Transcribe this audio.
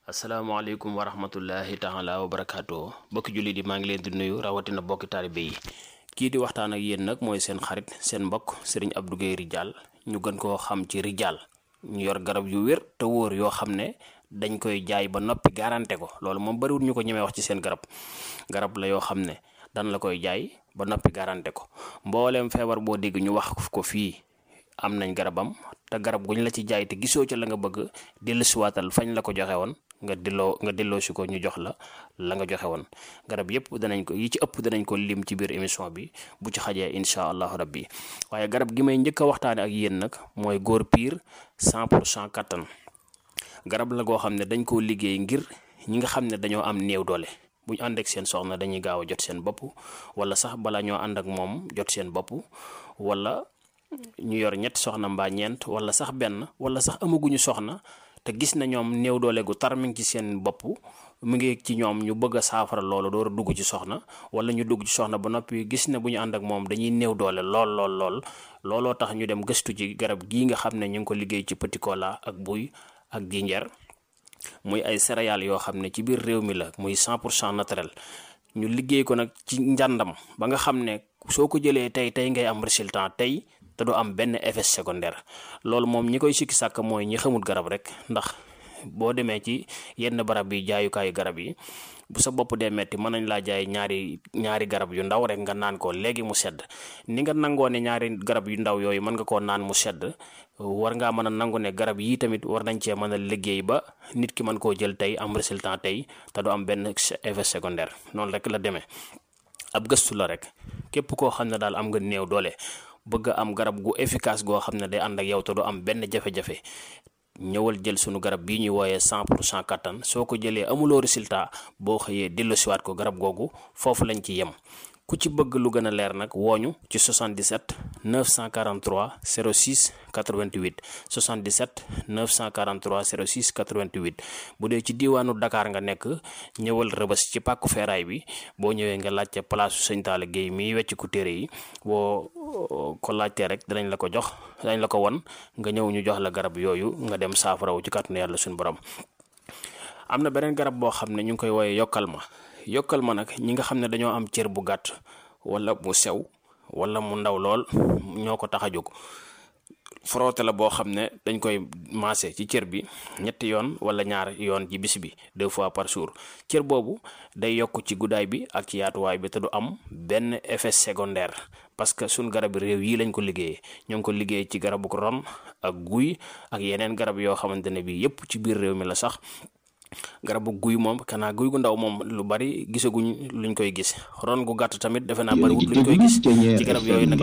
asalaamaaleykum wa rahmatullahi taala wa barakaatu bokki jullit yi maa ngi leen di nuyu rawatina bokki taalibe yi kii di waxtaan ak yéen nag mooy seen xarit seen mbokk Serigne Abdou Guèye Ridial ñu gën koo xam ci Ridial ñu yor garab yu wér te wóor yoo xam ne dañ koy jaay ba noppi garanté ko loolu moom bariwul ñu ko ñemee wax ci seen garab la yoo xam ne dan la koy jaay ba noppi garanté ko mbooleem feebar boo dégg ñu wax ko fii am nañ garabam te garab guñ la ci jaay te gisoo ca la nga bëgg dellusiwaatal fañ la ko joxe woon nga delloo si ko ñu jox la nga joxe woon garab yëpp danañ ko yi ci ëpp danañ ko lim ci biir émission bi bu ci xajee incha allahu rabbi waaye garab gi may njëkk a waxtaane ak yéen nag mooy góor piir 100% kattan garab la goo xam ne dañ koo liggéey ngir ñi nga xam ne dañoo am néew doole bu ñu ànd ak seen soxna dañuy gaaw a jot seen bopp wala sax bala ñoo ànd ak moom jot seen bopp wala ñu yor ñetti soxna mbaa ñeent wala sax benn wala sax amaguñu soxna te gis na ñoom néew doole gu tar mi ngi ci seen bopp mu ngi ci ñoom ñu bëgg a saafara loolu door a dugg ci soxna wala ñu dugg ci soxna ba noppi gis ne bu ñu ànd ak moom dañuy néew doole lool looloo tax ñu dem gëstu ci garab gii nga xam ne ñu ngi ko liggéey ci petit cola ak buy ak jinjeer muy ay céréales yoo xam ne ci biir réew mi la muy 100% naturel ñu liggéey ko nag ci njàndam ba nga xam ne soo ko jëlee tey ngay am résultat tey te du am benn effet secondaire loolu moom ñi koy sikki sàkk mooy ñi xamul garab rek ndax boo demee ci yenn barab yi jaayukaayu garab yi bu sa bopp dee metti mën nañ laa jaay ñaari garab yu ndaw rek nga naan ko léegi mu sedd ni nga nangoo ne ñaari garab yu ndaw yooyu mën nga koo naan mu sedd war ngaa mën a nangu ne garab yii tamit war nañ cee mën a liggéey ba nit ki mën koo jël tey am résultat tey te du am benn effet secondaire noonu rek la demee ab gëstu la rek képp koo xam ne daal am nga néew doole bëgg am garab gu efficace goo xam ne day ànd ak yow te du am benn jafe-jafe ñëwal jël sunu garab bii ñuy wooyee 100% kattan soo ko jëlee amuloo résultat boo xëyee delloosiwaat ko garab googu foofu lañ ci yem ku ci bëgg lu gën a leer nag wooñu ci 77 943 06 88 77 943 06 88 bu dee ci diiwaanu Dakar nga nekk ñëwal Rëbës ci pàkku feeraay bi boo ñëwee nga laajte palaasu Sëñ Talla Guèye miy wecc ku téere yi boo ko laajtee rek danañ la ko jox danañ la ko won nga ñëw ñu jox la garab yooyu nga dem saafarawu ci kàttanu yàlla suñu borom. am na beneen garab boo xam ne ñu ngi koy wooyee yokkal ma nag ñi nga xam ne dañoo am cër bu gàtt wala mu sew wala mu ndaw lool ñoo ko tax a jóg frotté la boo xam ne dañ koy maase ci cër bi ñetti yoon wala ñaar yoon ci bis bi 2 fois par jour cër boobu day yokk ci guddaay bi ak ci yaatuwaay bi te du am benn effet secondaire parce que suñ garab réew yi lañ ko liggéeyee ñoo ngi ko liggéey ci garabu ron ak guy ak yeneen garab yoo xamante ne bi yépp ci biir réew mi la sax garabu guy moom kanaa guy gu ndaw moom lu bari gisaguñ luñ koy gis ron gu gàtt tamit defe naa bariwut luñ koy gis ci garab yooyu nag